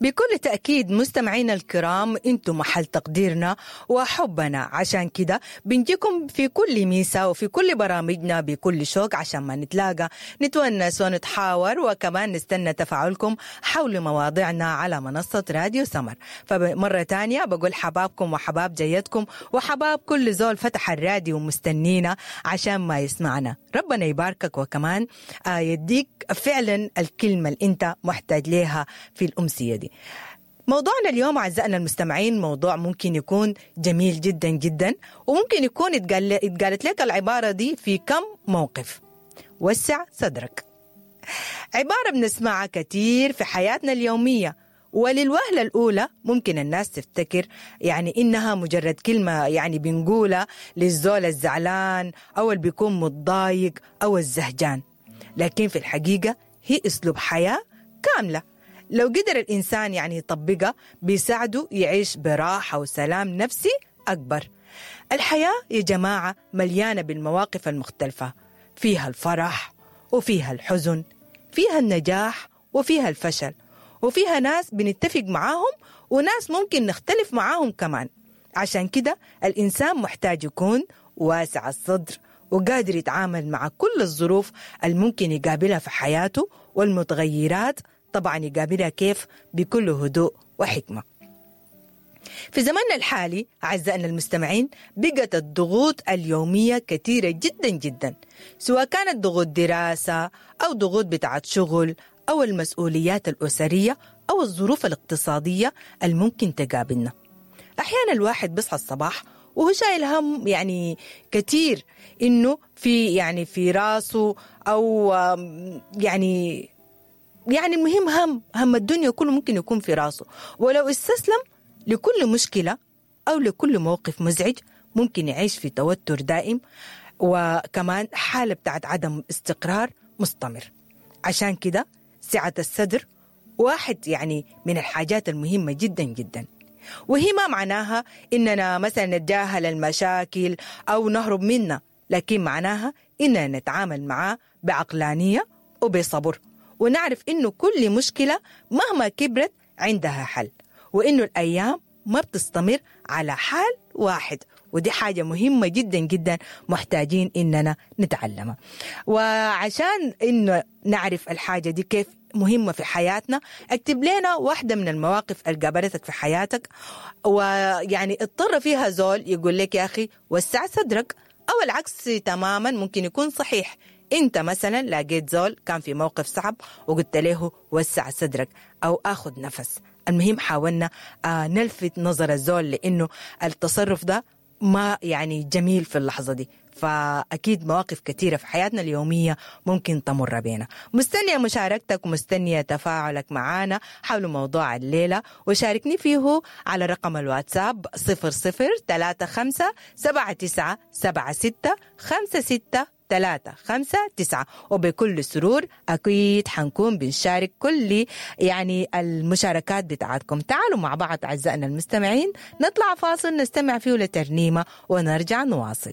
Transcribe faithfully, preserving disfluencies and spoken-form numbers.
بكل تأكيد مستمعينا الكرام، انتم محل تقديرنا وحبنا، عشان كده بنجيكم في كل ميسة وفي كل برامجنا بكل شوق عشان ما نتلاقى نتونس ونتحاور، وكمان نستنى تفاعلكم حول مواضيعنا على منصة راديو سمر. فمرة تانية بقول حبابكم وحباب جيتكم وحباب كل زول فتح الراديو ومستنينا عشان ما يسمعنا. ربنا يباركك وكمان يديك فعلا الكلمة اللي انت محتاج لها في الأمسية دي. موضوعنا اليوم أعزائنا المستمعين موضوع ممكن يكون جميل جدا جدا، وممكن يكون اتقال اتقالت لك العبارة دي في كم موقف. وسع صدرك، عبارة بنسمعها كتير في حياتنا اليومية، وللوهلة الأولى ممكن الناس تفتكر يعني إنها مجرد كلمة يعني بنقولها للزول الزعلان أو اللي بيكون متضايق أو الزهجان، لكن في الحقيقة هي أسلوب حياة كاملة لو قدر الإنسان يعني يطبقها بيساعده يعيش براحة وسلام نفسي أكبر. الحياة يا جماعة مليانة بالمواقف المختلفة، فيها الفرح وفيها الحزن، فيها النجاح وفيها الفشل، وفيها ناس بنتفق معاهم وناس ممكن نختلف معاهم كمان. عشان كده الإنسان محتاج يكون واسع الصدر وقادر يتعامل مع كل الظروف الممكن يقابلها في حياته والمتغيرات، طبعا يقابلها كيف؟ بكل هدوء وحكمة. في زمننا الحالي أعزائنا المستمعين بقت الضغوط اليومية كثيرة جدا جدا، سواء كانت ضغوط دراسة أو ضغوط بتاعت شغل أو المسؤوليات الأسرية أو الظروف الاقتصادية الممكن تقابلنا. أحيانا الواحد بيصحى الصباح وهو شايل هم يعني كتير إنه في يعني في راسه أو يعني يعني المهم هم هم الدنيا كله ممكن يكون في راسه، ولو استسلم لكل مشكلة أو لكل موقف مزعج ممكن يعيش في توتر دائم وكمان حالة بتاعت عدم استقرار مستمر. عشان كده سعة الصدر واحد يعني من الحاجات المهمة جدا جدا، وهي ما معناها إننا مثلا نتجاهل المشاكل أو نهرب منها، لكن معناها إننا نتعامل معاه بعقلانية وبصبر، ونعرف إنه كل مشكلة مهما كبرت عندها حل، وإنه الأيام ما بتستمر على حال واحد، ودي حاجة مهمة جدا جدا محتاجين إننا نتعلمها. وعشان إنه نعرف الحاجة دي كيف مهمة في حياتنا، اكتب لنا واحدة من المواقف اللي قابلتك في حياتك ويعني اضطر فيها زول يقول لك يا أخي وسع صدرك، أو العكس تماما ممكن يكون صحيح. انت مثلا لقيت زول كان في موقف صعب وقلت له وسع صدرك او اخذ نفس. المهم حاولنا آه نلفت نظر الزول لانه التصرف ده ما يعني جميل في اللحظة دي. فأكيد مواقف كثيرة في حياتنا اليومية ممكن تمر بينا. مستنية مشاركتك ومستنية تفاعلك معنا حول موضوع الليلة، وشاركني فيه على رقم الواتساب صفر صفر ثلاثة خمسة سبعة تسعة سبعة ستة خمسة ستة ثلاثة خمسة تسعة. وبكل سرور أكيد حنكون بنشارك كل يعني المشاركات بتاعتكم. تعالوا مع بعض أعزائنا المستمعين نطلع فاصل نستمع فيه لترنيمة ونرجع نواصل.